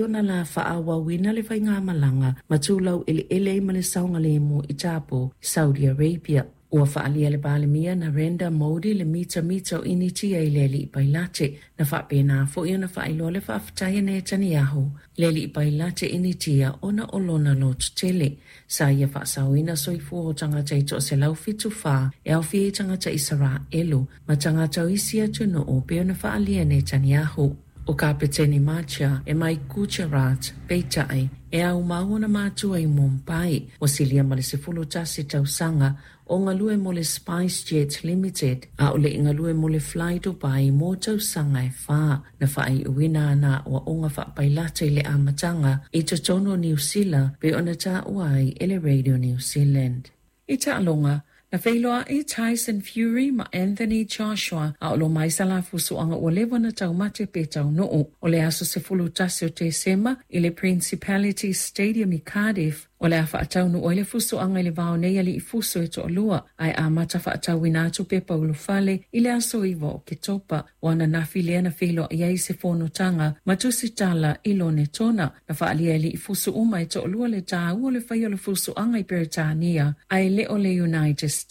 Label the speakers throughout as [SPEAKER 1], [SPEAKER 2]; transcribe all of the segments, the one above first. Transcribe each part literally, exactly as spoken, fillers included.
[SPEAKER 1] Ona la faaauauina le faigamalaga ma tulau eleele ai ma le saogalemu i Tapu, Saudi Arabia. Ua faaalia le Palemia Narendra Modi le mitamita o Initia i le alii pailate na faapena foi ona faailoa le faafetai a Netanyahu le alii pailate Initia ona o lona lototele. Sa ia faasaoina soifua o tagata e toaselau fitu fa e aofia i tagata Isaraelu ma tagata o isi atunuu pei ona faaalia Netanyahu. O Kapeteni Macha e mai Gujarat, peitai, e aumau ona matua i Mumbai, ua silia ma le sefulu tasi tausaga o galue mo le SpiceJet Limited, a o le i galue mo le Fly Dubai mo tausaga e fa. Na faaiuina ana aoaoga faapailata i le amataga i totonu o Niu Sila pei ona taua ai e le Radio New Zealand. I taaloga, na feiloai Tyson Fury ma Anthony Joshua a o lo mai sa la fusuaga ua leva ona taumate pe taunuu. O le aso sefulu tasi o Tesema i le Principality Stadium i Cardiff, o le a faataunuu ai le fusuaga i le va o nei alii fusu e toalua, ae amata faatauina atu pepa ulufale i le aso iva o Oketopa. O ananafi lea na feiloai ai se fonotaga ma tusitala i Lonetona. Na faaalia e alii fusu uma e toalua le taua o le faia o le fusuaga i Peretania, ae le o le United States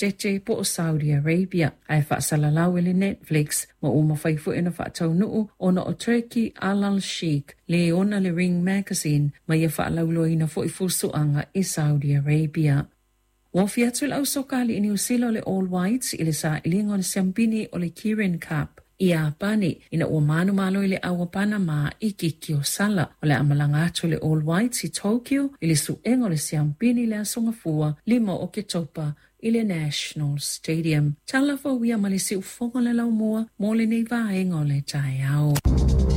[SPEAKER 1] po o Saudi Arabia, ae faasalalau e le Netflix ma ua mafai foi ona faataunuu ona o Turki Alalshikh le ona le Ring Magazine ma ia faalauiloaina foi fusuaga i Saudi Arabia. Ua ofi atu le ausoka alii Niu Sila o le All Whites i le sailiga o le siamupini o le Kirin Cup i Iapani ina ua manumalo i le ʻau a Panama i kiki o sala. O le a malaga atu le All Whites i Tokyo i le suega o le siamupini i le aso Gafua lima o Oketopa i le National Stadium. Tala fou ia ma le siufofoga o le laumua mo lenei vaega o le taeao.